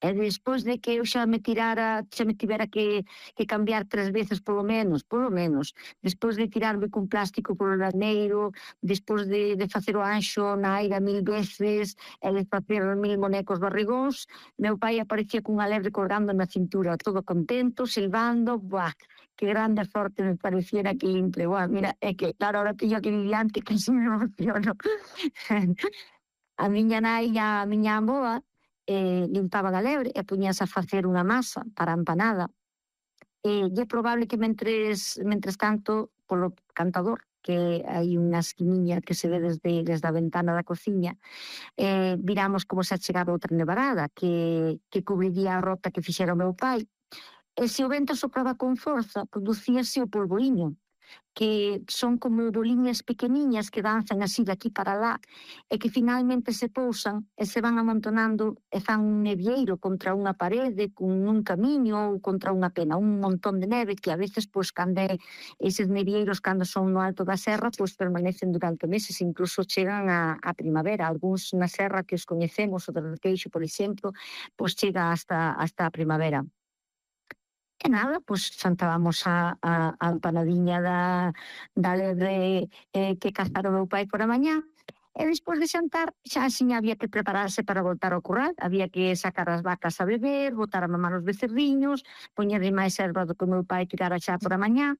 E despois de que eu xa me tivera que cambiar 3 veces polo menos, despois de tirarme cun plástico polo laneiro, despois de facer o anxo na aira 1000 veces e de facer 1000 bonecos barrigóns, meu pai aparecía cunha lebre colgando na cintura, todo contento, silbando, buah, que grande e forte me parecía aquele intre, buah, mira, é que claro, ahora teño que diante que se me emociono. A miña nai e a miña avoa limpaban a lebre e puñase a facer unha masa para a empanada. E é probable que mentres tanto, polo cantador, que hai unha esquiniña que se ve desde a ventana da cociña, viramos como se achegaba outra nevarada que cubriría a rota que fixera o meu pai. E se o vento sopraba con forza, producíase o polvoriño, que son como boliñas pequeniñas que danzan así de aquí para lá e que finalmente se pousan e se van amontonando e fan un nevieiro contra unha parede, con un camiño ou contra unha pena, un montón de neve que a veces, pois, eses nevieiros cando son no alto da serra, pois permanecen durante meses, incluso chegan a primavera. Algúns na serra que os coñecemos, o de Requeixo, por exemplo, pois chega hasta a primavera. E nada, pois xantábamos a empanadiña da lebre que cazara o meu pai por a mañá, e despois de xantar xa axiña había que prepararse para voltar ao curral, había que sacar as vacas a beber, botar a mamar os becerriños, poñerlle máis erva do que o meu pai tirara xa por a mañá,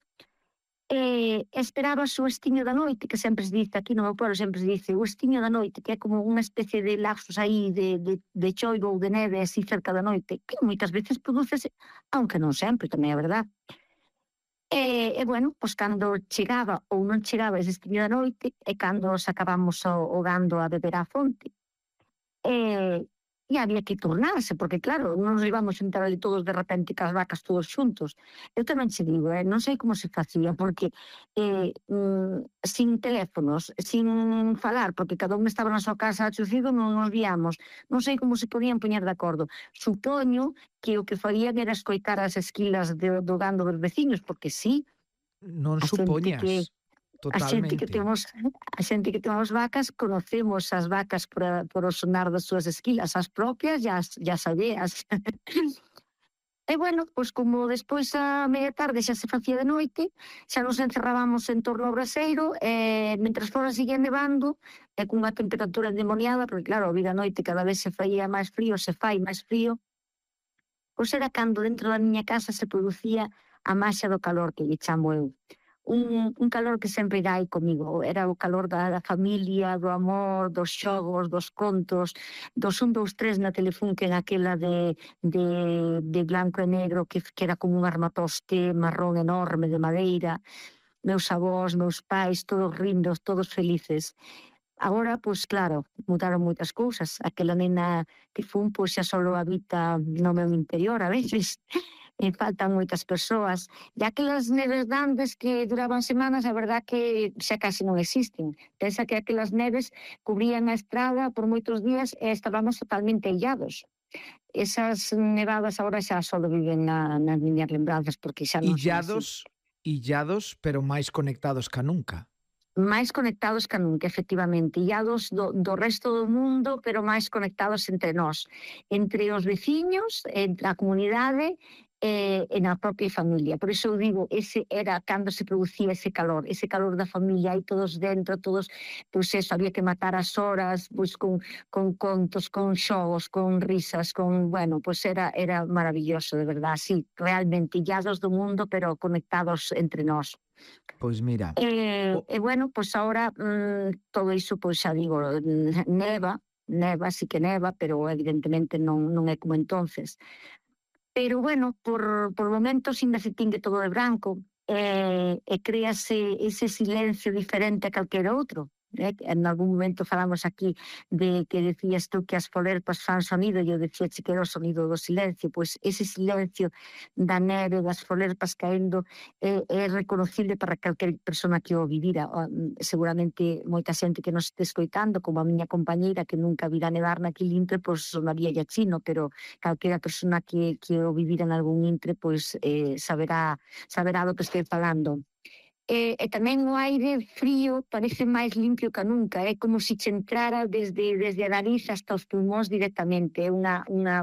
esperabas o estiño da noite, que sempre se dice aquí no meu pueblo, sempre se dice o estiño da noite, que é como unha especie de lapsus aí de choivo ou de neve así cerca da noite, que moitas veces prodúcese, aunque non sempre, tamén é verdad. Bueno, pois cando chegaba ou non chegaba ese estiño da noite é cando sacábamos o gando a beber á fonte. E había que turnarse, porque claro, non nos íbamos xuntar ali todos de repente cas vacas todos xuntos. Eu tamén che digo, non sei como se facía, porque sin teléfonos, sin falar, porque cada un estaba na súa casa achucido, non nos víamos. Non sei como se podían poñer de acordo. Supoño que o que farían era escoitar as esquilas do gando dos veciños, porque sí, Non a xente que supoñas, a xente que totalmente. temos a xente que temos vacas, conocemos as vacas por o sonar das súas esquilas, as propias e as alleas. E bueno, pois como despois a media tarde xa se facía de noite, xa nos encerrábamos en torno ao braseiro e mentres fora seguía nevando e cunha temperatura endemoniada, porque claro, a vida a noite cada vez se faía máis frío, se fai máis frío, pois era cando dentro da miña casa se producía a maxia do calor que lle chamo eu. Un calor que sempre irá aí comigo. Era o calor da familia, do amor, dos xogos, dos contos, dos 1, 2, 3 na Telefunken, aquela de blanco e negro que era como un armatoste marrón enorme de madeira. Meus avós, meus pais, todos rindos, todos felices. Agora, pois claro, mudaron moitas cousas. Aquela nena que fun, pois xa só habita no meu interior a veces. E faltan moitas persoas. E aquelas neves grandes que duraban semanas, a verdad que xa casi non existen. Pensa que aquelas neves cubrían a estrada por moitos días e estábamos totalmente illados. Esas nevadas agora xa só viven nas miñas lembranzas porque xa non son así. Illados, pero máis conectados ca nunca. Máis conectados ca nunca, efectivamente, illados do resto do mundo, pero máis conectados entre nós, entre os veciños, entre a comunidade e na propia familia. Por iso eu digo, ese era cando se producía ese calor da familia, aí todos dentro, todos, pois eso, había que matar as horas, pois con contos, con xogos, con risas, bueno, pois era maravilloso, de verdad, sí, realmente, illados do mundo, pero conectados entre nós. Pois mira, o Bueno, pois agora todo iso, pois xa digo, neva, sí que neva, pero evidentemente non é como entonces. Pero bueno, por momentos ainda se tingue todo de branco e créase ese silencio diferente a calquera outro. En algún momento falamos aquí de que decías tú que as folerpas fan sonido e eu decía que era o sonido do silencio, pois ese silencio da neve, das folerpas caendo é reconocible para calquer persona que o vivira. Seguramente moita xente que nos este escoitando, como a miña compañeira que nunca vira nevar naquele intre, pois sonaría ya chino, pero calquera persona que o vivira en algún intre, pois saberá do que estou falando. E tamén o aire frío parece máis limpio que nunca, é como se che entrara desde a nariz hasta os pulmóns directamente, é unha